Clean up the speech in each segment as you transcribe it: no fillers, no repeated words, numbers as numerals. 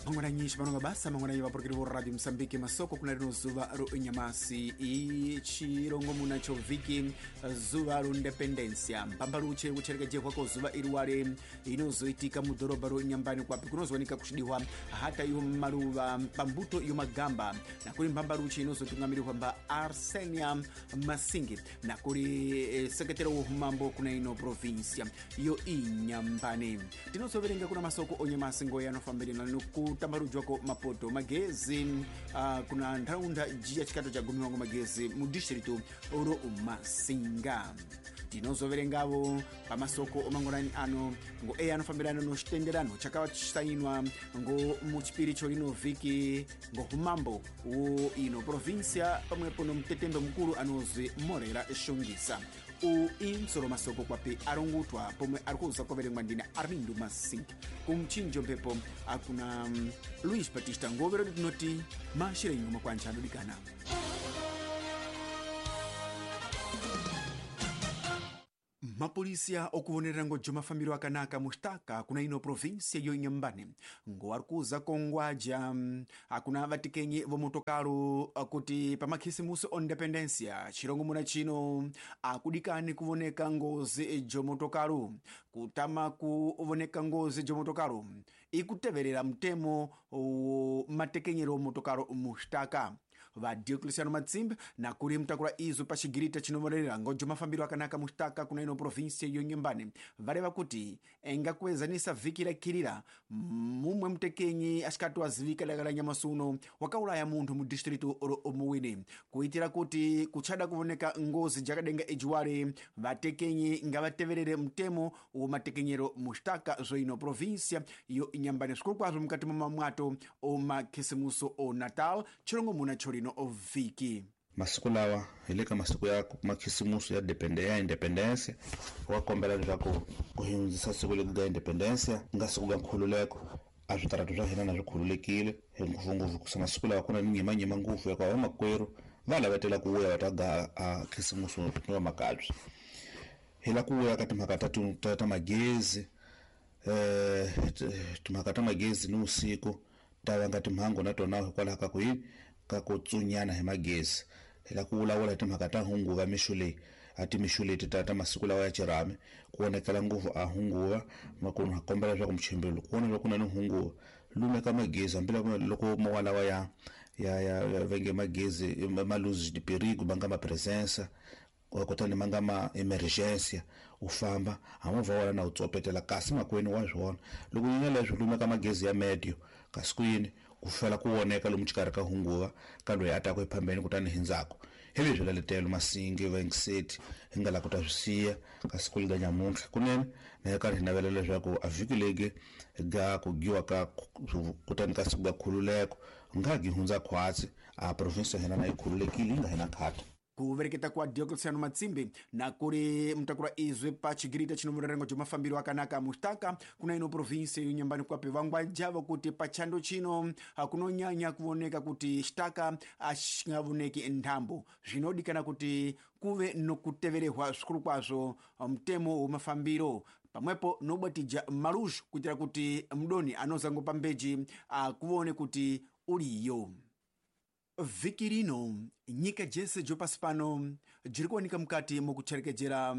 Mangwananyi panonga basa mangwananyi vapurukiri vo Radio Mosambike masoko kuna rino zuva ro nyamasi ichirongomuna cho vhiki zuva ro independencia mpambaluche kucherekejehwa ko zuva iriwale inozoitika mudhorobha ro Nyambani kwapi kunozowanika kuchidiwa hata yo maluva pambuto yo magamba nakuli mpambaluche inozotungamirihwa mba Arsenia Masingi nakuli sekretero wo humambo kuna ino provincia yo Inyambani. Tinozoverenga kuna masoko onyamasi ngoya anofambirana nokutambarujwako mapoto magezi kuna ntharaunda jiya chikato cha gumiwango magezi mu distritu ro Masinga. Tinozoverengavo pamasoko omangwanani ano ngo eya anofambirana no xitenderano chakava chisainwa ngo muchipiri cho lino vhiki ngo humambo wo ino provincia pamwepo no mtetembe mukulu anozwi Morera Shongisa. U insoro masoko kwapi arongutwa pomwe arikuza kuverengwa ndina Armindo Masingi kumchinjo mphepo akuna Luis Batista ngovero tinoti mashire nyuma kwanja adodikana. Mapolisia okuvonerera ngojo mafambiro akanaka mustaka kuna ino provinsia yo Inhambane ngo arikuza kongwaja akuna vatikenyi vomotokalo kuti pamakhisimusi o independencia chirongomuna chino akudikani kuvoneka ngozi jomotokalo. Kutama kuvoneka ngozi jomotokalo ikuteverera mtemo wo matekenyero omotokalo mustaka. Va Diocleciano Matsimbe nakuli mtakula izo pachigirita chinovonerera ngojo mafambiro akanaka mustaka kuna ino provinsia yo Inhambane valeva kuti engakuezanisa vhiki rakhirira mumwe mtekenyi axikati azivika daka la nyamasi uno wakaulaya munthu mu distritu ro Omuwini kuitira kuti kuchada kuvoneka ngozi jakadenga ejiwale vatekenyi ngavateverere mtemo wo matekenyero mustaka zvo ino provinsia yo Inhambane zvikulu kwazvo mukati mwa mamwato o makhisimuso o Natal chirongomuna cholino ovhiki. Masiku lawa hi le ka masiku ya makhisimuso ya ya independencia wa kombela leswaku ku hundzisa siku leri ga independencia nga siku ga nkhululeko a switarata swa hina na swi khululekile hi ngopfungopfu kusa masiku lawa ku na nyimanyima ngopfu ya ku vamakwerhu va lavetela ku vuya va ta ga a khisimuso ni va makabye. Hi la ku vuya ka timhaka ta magezi timhaka ta magezi ni vusiku ta vanga timhangu na tona hikwalaho ka ku yini ka ku tsunyana hi magezi. Hi la ku vulavula hi timhaka ta hunguva mixo leyi a timixo leti ta masiku lawa ya xirhami ku vonakela ngopfu a hunguva makunu ha kombela leswaku muchimbelo ku vona leswaku ku na ni hunguva lumeka magezi hambi loko mowa lawa ya ya ya venge magezi ma luz de perigo ma nga ma presença kutani ma nga ma emergencia u famba ha movha wa wena na wu tsopetela kasi makwenu wa swona loko nyanya leswi lumeka magezi ya medio kasi ku yini ku fela ku voneka lomu xikarhi ka hunguva ka loyi a taka ephambeni kutani hi ndzhaku hi leswi laletelo Masingi Vengiseti hi nga la ku ta swi siya ka siku lega nyamuntlha kunene na hi karhi hi navela leswaku a vhiki legi ga ku giwa ka kutani ka siku ga khululeko nga gi hundza khwatsi a province ya hina na yi khululekile yi nga hina khata. Kuvereketa kwa Diocleciano Matsimbe nakuli mtakula izwe pa chigirita chinomurerengo cho mafambiro akanaka mustaka kuna ino provinsia yo Inhambane kwapi vangwajavo kuti pachando chino kunonyanya kuvoneka kuti xitaka axingavoneki nthambo zvinodikana kuti kuve nokuteverehwa zvikulu kwazvo mtemo wa mafambiro pamwepo nobatija maluxo kuitira kuti mdoni anozango pambeji akuvone kuti uliyo. Vhiki rino nyika jese jopasi pano jiri kuwanika mukati mukucherekejera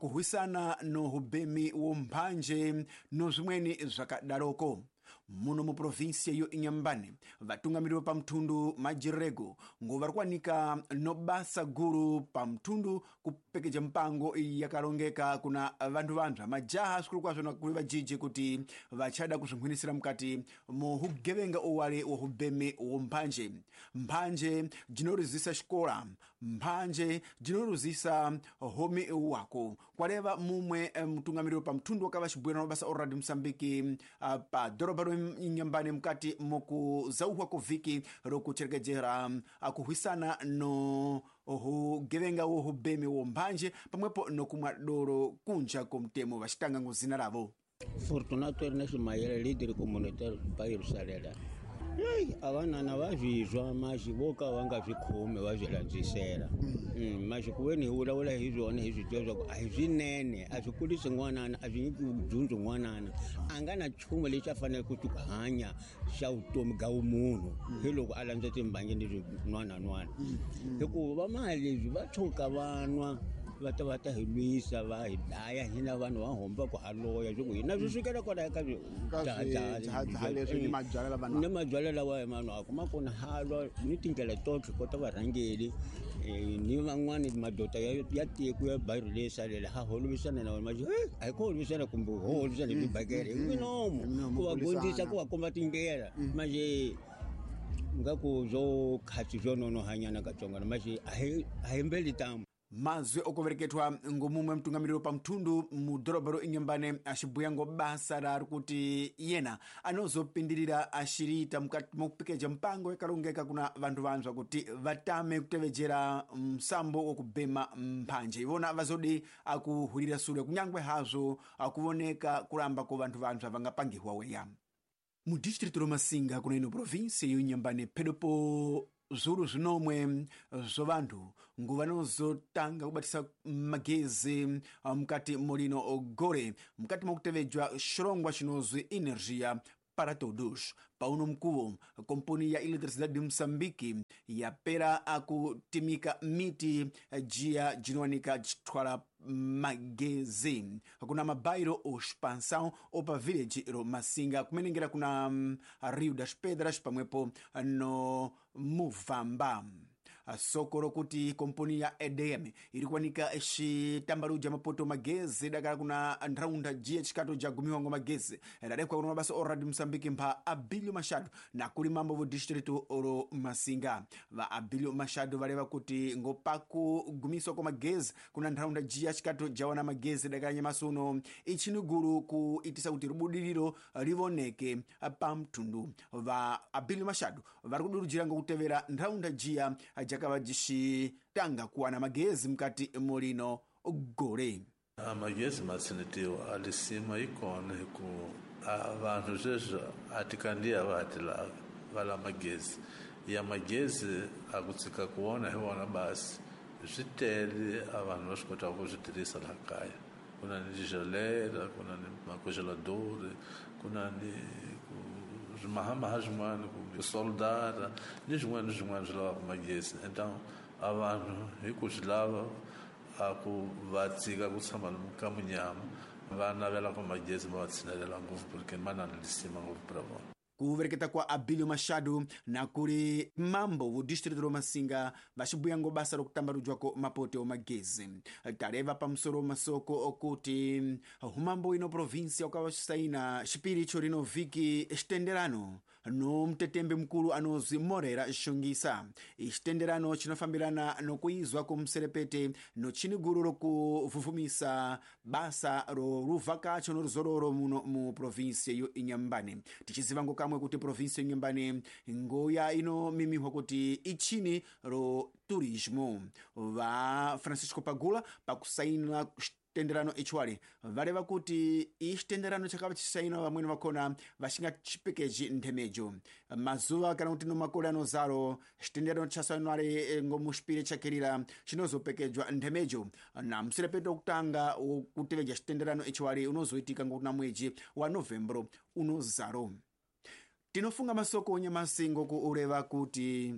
kuhwisana no hubhemi wo mphanje no zvimweni zvakadaroko. Muno mu provinsia yo Inhambane vatungamiriri pamthundu majirego ngo vari kuwanika no basa guru pamthundu kupekeja mpango yakalongeka kuna vanthu vanthu majaha zvikulu kwazvo nakuli vajiji kuti vachada kuzvinkhwinisira mukati mu hugevenga owale wa hubhemi wo mphanje. Mphanje jinoruzisa xikola, mphanje jinoruzisa homi wako kwaleva mumwe mtungamiriri pamthundu wakava xibwera no basa o Radio Mosambike pa dhorobha Inhambane mukati mukuzauhwa ko vhiki rokucherekejera kuhwisana no hugevenga wo hubhemi wo mphanje pamwepo nokumwa doro kunja ko mtemo vachitanga ngo zina ravo. Fortunato Ernesto Mayele, líder comunitário bairro Sarela. Eyi a vanana va swi twa maxi vo ka va nga swi khomi va swi landzisela. Maxi ku ve ni hi vulavula hi swona hi swi tiva swa ku a hi swinene, a swi kurisi n'wanana, a swi nyiki dyondzo n'wanana. A nga na nchumu lexi a faneleke ku hanya xa vutomi bya vumunhu hi loko a landza timbangi ni swin'wanan'wana. Hikuva va mali leswi va tshuka va nwa va ta va ta hi lwisa va hi dlaya hina vanhu va homba ku haloya swi ku hina swi sukela kwalaya ka leswi ni mabyalwa lava ni mabyalwa lawa hi manwaka ma kona halwa ni tindlela totlhe kota varhangeli ni van'wani madoda ya tiko ya bayiro leyi salela ha holovisana na wona maxi a hi ku holovisana kumbe ho holovisana hi tibakele hi minomo ku va gondzisa ku va komba tindlela manje nga ku byo khatsi byo nonohanyana katsongwana maxi a hi mbeli tamu. Mazwi okuvereketwa ngomumwe mutungamiriri pamthundu mudhorobha ro Inhambane axibuya ngo basa rari kuti yena anozopindirira axiriita mukati mokupekeja mpango yakalongeka kuna vanthu vanzwa kuti vatame kutevejera msambo wokubhema mphanje. Ivona vazodi akuhwirira sule kunyangwe hazvo akuvoneka kulamba ko vanthu vanzwa vangapangiwa weya. Mu distrito ro Masinga kuna ino província yo Inhambane phedopo zviuru zvinomwe zvo vanthu nguva vanozotanga kubatisa magezi mukati mulino gore mukati mokutevedzwa xirongwa chinozwi Energia para Todos. Pauno mkuwo kompuni ya Eletricidade de Moçambique yapera akutimika miti jiya jinowanika jithwala magezi kuna mabairo oxpansão opa village ro Masinga kumenengera kuna Rio das Pedras pamwepo no Muvamba. Soko rokuti kompuni ya EDM iri kuwanika xitambaluja mapoto magezi dakala kuna ntharaunda jiya chikato jagumiwa ngo magezi radekwa kuna mabasa o Radio Moçambique mpha Abilio Machado na kuli mambo vo distrito ro Masinga. Va Abilio Machado valeva kuti ngo pakugumiswa kwa magezi kuna ntharaunda jiya chikato jawana magezi dakala nyamasi uno ichini gulu kuitisa kuti rubudiriro livoneke pamthundu. Va Abilio Machado vari kudurujira ngokutevera ntharaunda jiya jakava jixitanga kuwana magezi mukati mulino gore. Magezi matsinetiwa a lisima yi kona hi ku a vanhu sweswi a ti kandziya va ha ti lavi va lava magezi ya magezi a ku tshika ku wona hi wona basi swi tele a vanhu va swi kotaka ku swi tirhisa laha kaya. Ku na ni tigelera, ku na ni macongelador, ku na ni swimahamaha swin'wana kumbe soldara ni swin'wana ni swin'wana swi lavaka magezi. Então a vanhu hi ku swi lava a ku va tshika ku tshama ka munyama va navela ku magezi ma va tshinelela ngopfu porque ma na lisima ngopfu ra vona. Kuvereketa kwa Abilio Machado na kuli mambo vo distrito ro Masinga vaxibuya ngo basa rokutambaludzwako mapoto omagezi. Taleva pamusoro masoko okuti humambo ino província ukava xisaina xipiricho rino vhiki xitenderano no mtetembe mukulu anozwi Morera Xongisa. Xitenderano chinofambirana nokuizwa kumuserepete nochini guru rokuvhuvhumisa basa ro ruvhakacho noruzororo muno mu província yo Inhambane. Tichiziva ngo kamwe kuti província yo Inhambane ngoya inomimihwa kuti ichini ro turismo. Va Francisco Pagula pakusaina xitenderano ichiwali valeva kuti ixitenderano chakava chisaina vamweni vakona vaxinga chipekeji nthemejo mazuva kana kuti no makore anozaro xitenderano chasainwale ngomuxipiri chakirira chinozopekejwa nthemejo na mserepeto wokutanga wokuteveja xitenderano ichiwali unozoitika ngokuna mwedzi wa novembro unozaro. Tinofunga masoko onyamasi ngokuureva kuti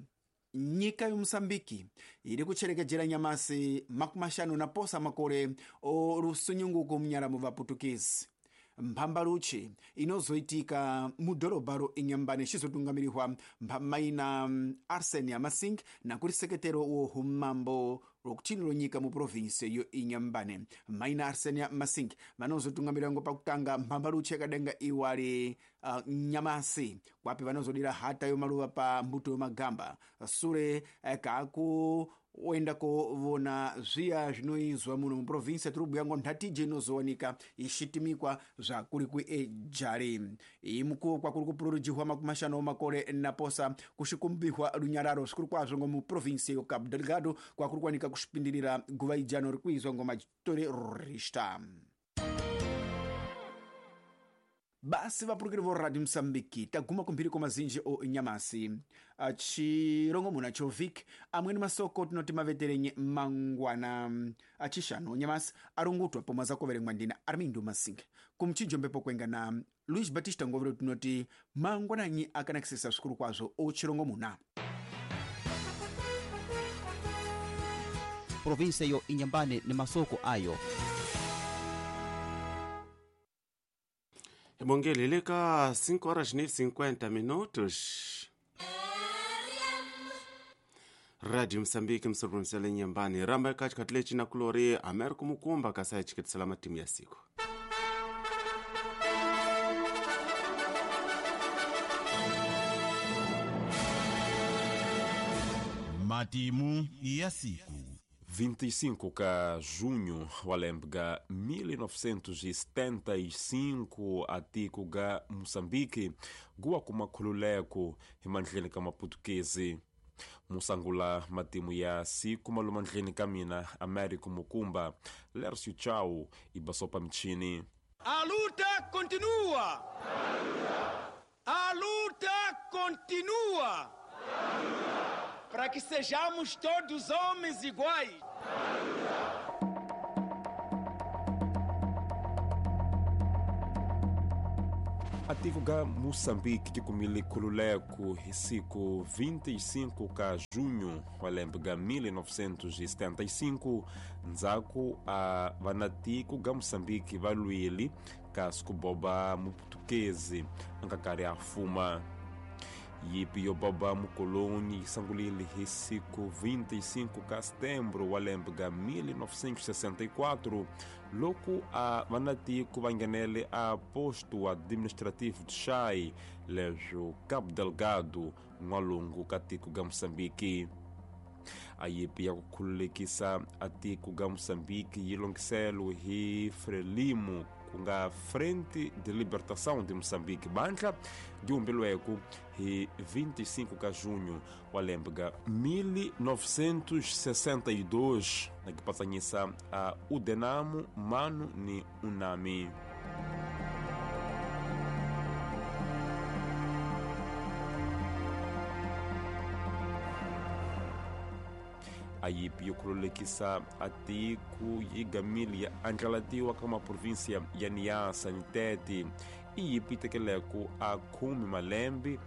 nyika yomusambiki iri kucherekejera nyamasi 50 na posa makore o rusunyunguko munyaramo vaputukisi. Mphambaluchi inozoitika mudhorobha ro Inhambane xizotungamirihwa mphammaina Arsenia Masing na kuli seketero wo humambo rokuthini lonyika mu província yo Inhambane. Maina Arsenia Masing vanozotungamirira ngo pakutanga mphambaluchi yakadenga iwali nyamasi kwapi vanozodira hata yo maluva pa mbuto yo magamba sure kaku oenda kovona zviya zvinoizwa muno muprovinsia tiri kubhuya ngo nhatije inozowanika ichitimikwa zvakuri kuejari. Iyi mukuwo kwakuri kupururujihwa 50 makore naposa kuxikumbihwa runyararo zvikuru kwazvo ngo muprovinsia yo Cabo Delgado kwakuri kuwanika kuxipindirira guva ijano ri kuizwa ngo materorista. Basi vapurukiri vo Radio Mosambiki taguma kumphiri kwa mazinji o nyamasi chirongomuna chovik amweni masoko tinoti maveterenye mangwana achishanu nyamasi arungutwa pomwe azakoverengwa ndina Armindo Masinga kumchijombepo kwenga na Luis Batista Ngovero tinoti mangwananyi akanakisisa svikuru kwazvo o chirongomuna. Provinsia yo Inhambane ni masoko ayo. Bongele leka 5 horas e 50 minutos. Rádio Moçambique msoprovincial Inhambane ramba katikati lechi na kulori Américo Mukumba kasaya chiketisela matimu ya siku. Matimu ya siku. 25 ka junho walembga 1975 atiko ga Moçambique guwa kumakhululeko himandleni ka maputukezi. Musangula matimu ya siku malumandleni ka mina Américo Mukumba Lércio Chau ibasopa mchini. A luta continua. A luta continua. Para que sejamos todos homens iguais. Atiko ga Moçambique kikumile khululeko hi siku 25 ka junho wa lembe ga 1975 ndzhaku a vanatiko ga Moçambique va lwile kasi ku boba muputukezi a nga karhi a fuma. Yipi yo boba mukoloni yi sangulile hi siku 25 ka setembro wa lembe ga 1964 loko a vanatiko va nghenele a posto administrativo de Xai leswo Cabo Delgado n'walungu ka tiko ga Moçambique. A yipi ya ku khululekisa a tiko ga Moçambique yi longhiselo hi Frelimo ku nga Frente de Libertação de Moçambique bandla di humbilweko hi 25 ka junho wa lembe ga 1962 na kipatsanyisa a Udenamo Mano ni Unami. A yipi yo khululekisa a tiko yi gamile ya andlalatiwa ka maprovinsia ya Niassa ni Tete i yipi tekeleko a khume malembe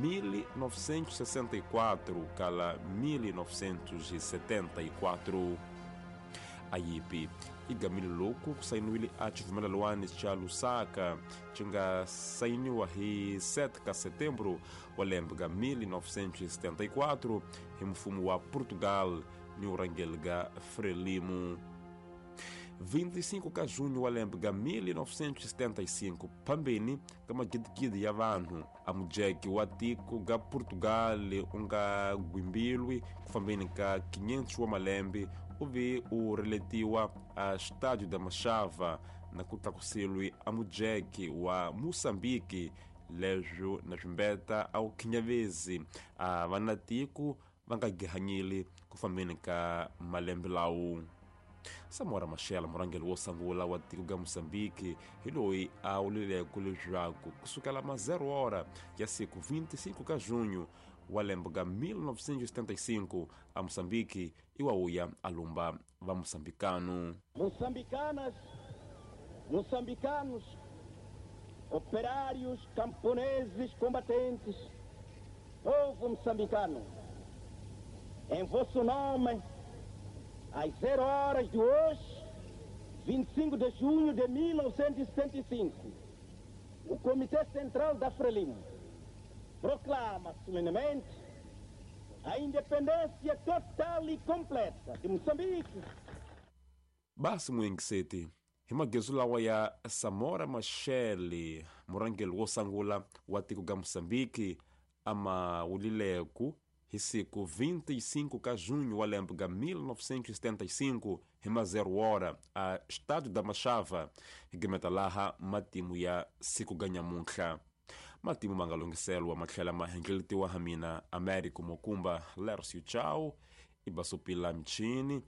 1964 kala 1974. A yipi i gamile loko ku sayiniwile a xivumelelwani xa Lusaka xi nga sayiniwa hi 7 ka setembro wa lembe ga 1974 hi mfumo wa Portugal ni urangeli ga Frelimo. 25 ka junho wa lembe ga 1975 phambeni ka magidigidi ya vanhu a mujeke wa tiko ga Portugal u nga gwimbilwi ku fambeni ka 500 wa malembe u ve u reletiwa a Estádio da Machava na ku tlakusilwi a mujeke wa Moçambique leswo na swimbeta a wu khinyavezi a vanatiko va nga gihanyile ku fambeni ka malembe lawo. Samora Machel murhangeri wo sungula wa tiko ga Moçambique hi loyi a wulileko leswaku kusukela ma 0 hora ya siku 25 ka junho wa lembe ga 1975 a Moçambique i wa wuya a lumba va moçambicano. Moçambicanas, moçambicanos, operários, camponeses, combatentes, povo moçambicano, em vosso nome, às 0 horas de hoje, 25 de junho de 1975, o Comitê Central da Frelimo proclama solenemente a independência total e completa de Moçambique. Basi muyengiseti hi magezu lawa ya Samora Machel murhangeri wo sungula wa tiko ga Moçambique ama wulileku hi siku 25 ka junho wa lembe ga 1975 hi ma 0 hora a Estádio da Machava hi gimeta laha matimu ya siku ga nyamuntlha. Matimu ma nga lunghiselwa ma tlhela ma hengeletiwa ha mina Américo Mukumba Lércio Chau ibasopila mchini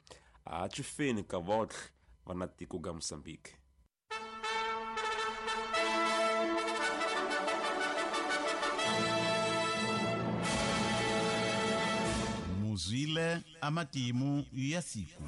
a chifeni ka votlhe va na tiko ga Moçambique. Zwile a matimu ya siku.